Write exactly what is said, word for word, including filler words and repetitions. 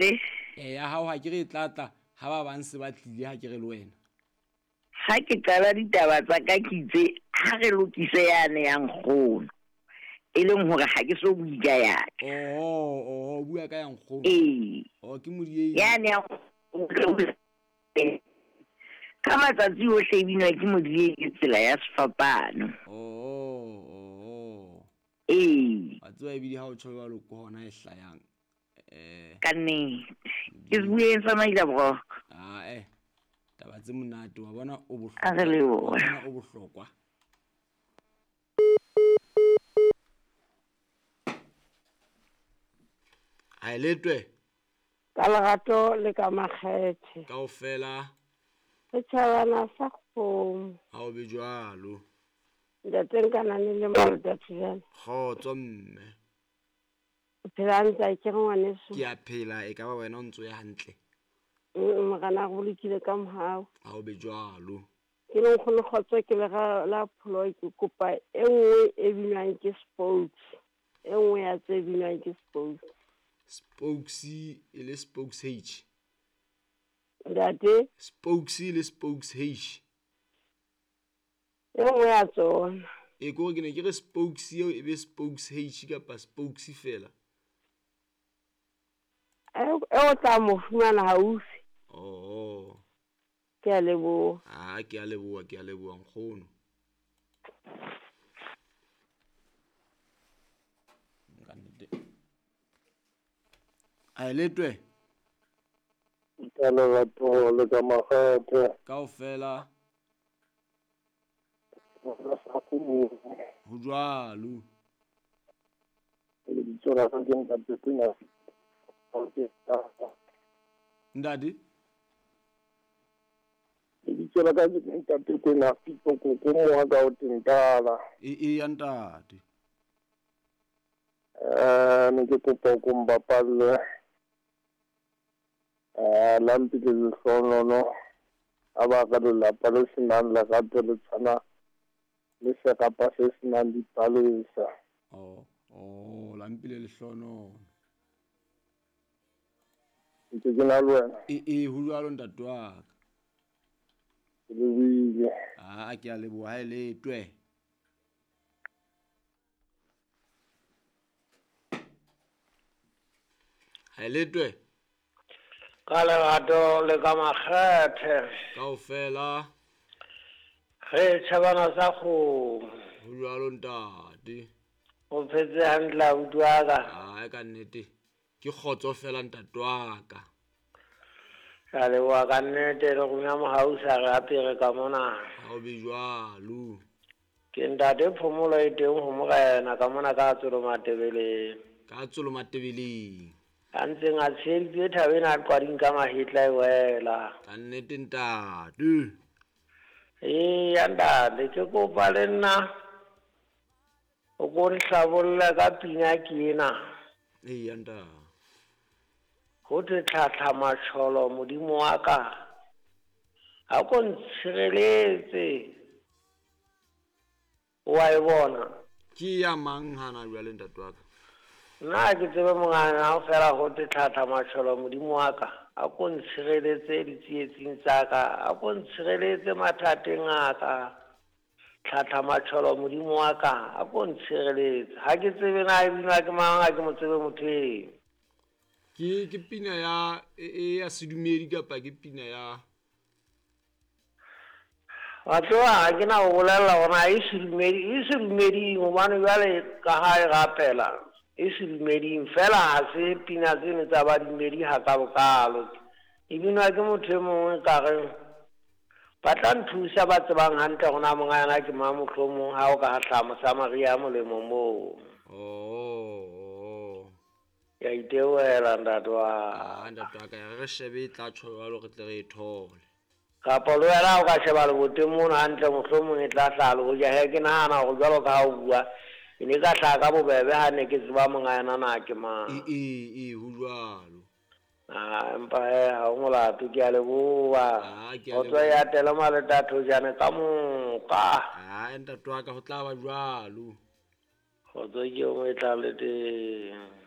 Ntate. E ya hao ha ke re e tlatla ha ba bang se ba tlile ha ke re le wena. Ha ke qala ditaba tsa ka ke itse ha re lokise yane ya nkgono. E leng hore ha ke so bue ka ya ka. Oh, oh, bua ka ya nkgono. Ee. Oh, ke modiei. Yane ya nkgono. Ka matsatsi ohle e binwa ke modiei ke tsela ya sefapano. Oh, oh. Ee. Wa tseba ebile ha o tjho jwalo ke hona e hlayang. Eh. Ka nnete. Ke bueng sa maila boroko. Ah eh. Taba tse monate wa bona o A re bohlokwa. lebohe. Wa bona o bohlokwa. Ha e letwe. Ka lerato le ka makgethe. Kaofela. Setjhabana sa kgomo. Ha o be jwalo. Ntate Nkanane le Malota Thujane. Kgotso mme. O phela hantle a kere ngwaneso? Ke a phela e ka ba wena o ntso ya hantle. Mm, Morena a re bolokile ka mohau. Ha o be jwalo. Ke le nkgono kgotso ke le ra la pholo ke kopa e nngwe e binwang ke Spokes. E nngwe ya tse binwang ke Spokes. Spokes e le Spokes H. Ntate? Spokes e le Spokes H. E nngwe ya tsona. E ko ke ne ke re Spokes eo e be Spokes H kapa Spokes fela. E o tla mo fumana haufi. Oh. Ke a leboha. Ah, ke a leboha, ke a leboha nkgono. Ka nnete. A e letwe. Ka lerato le ka makgethe. Kaofela. Ho jwalo. Lebitso la ka ke Ntate Pina. Ntate? Lebitso la ka ke Ntate Kwena Fito Koko moha ka o tentala. E e ya ntate. Eh, ne ke kopa ko mbapalle. Eh, la mpile lehlohonolono. A ba ka lelapa le senang lerato le tshwana le serapa se senang dipalesa. Oh, oh, la mpile lehlohonolono. Ntse ke na le wena. E e ho jwalo ntate wa ka. Ke lebohile. Ah, ke a leboha ha e letwe. Ha e letwe. Ka lerato le ka makgethe. Kaofela. Re tjhabana sa kgomo. Ho jwalo ntate. O phetse hantle abuti wa ka. Ah, ka nnete. Ke kgotso fela ntate wa ka. Ke a leboha ka nnete le rona mohau sa re apere ka mona. Ha o be jwalo. Ke ntate phomolo e teng ho morena ka mona ka tsolo matebeleng. Ka tsolo matebeleng. A ntseng a tsheheditse thabeng a qwading ka mahetla e wela. Ka nnete ntate. Eya ntate ke kopa le nna o ko nhlabolle ka pina ke ena. Eya ntate. Ho thwe tlhatlha matjholo modimo wa ka. Ha ko ntshireletse. Wa e bona. Ke ya mang hana jwale ntate wa ka? Nna ke tsebe mongana ha fela ho thwe tlhatlha matjholo modimo wa ka. A ko ntshireletse ditsietsing tsa ka, a ko ntshireletse mathateng a ka. Tlhatlha matjholo modimo wa ka, a ko ntshireletse. Ha ke tsebe na e binwa ke mang, ha ke mo tsebe motho eo. Ke ke pina ya e ya sedumedi kapa ke pina ya Wa tseba ha ke na ho bolella hore e sedumedi, e sedumeding hobane jwale ka ha e rapela. E sedumeding fela ha se pina tseno tsa badumedi ha ka bokalo. E binwa ke motho e mongwe ka re ba tla nthusa ba tsebang hantle hore na monga yena ke mang mohlomong ha o ka hlaha Mosamaria molemo moo. Oh. Ke a itebohela ntate wa. Ah, ntate wa ka re shebe e tla tjho jwalo re tle re e thole. Kapa le wena o ka sheba leboteng mono hantle mohlomong e tla hlaha le hoja he ke nahana hore jwalo ka ha o bua e ne ka hlaha ka bobebe ha ne ke tseba monga yena na ke mang. E e e ho jwalo. Ah, empa he ha o molato ke a leboha. Ah, ke a Kgotso leboha. ya tele Maleta Thojane ka moka. Ah, ntate wa ka ho tla ba jwalo. Kgotso ke eo e tla le teng.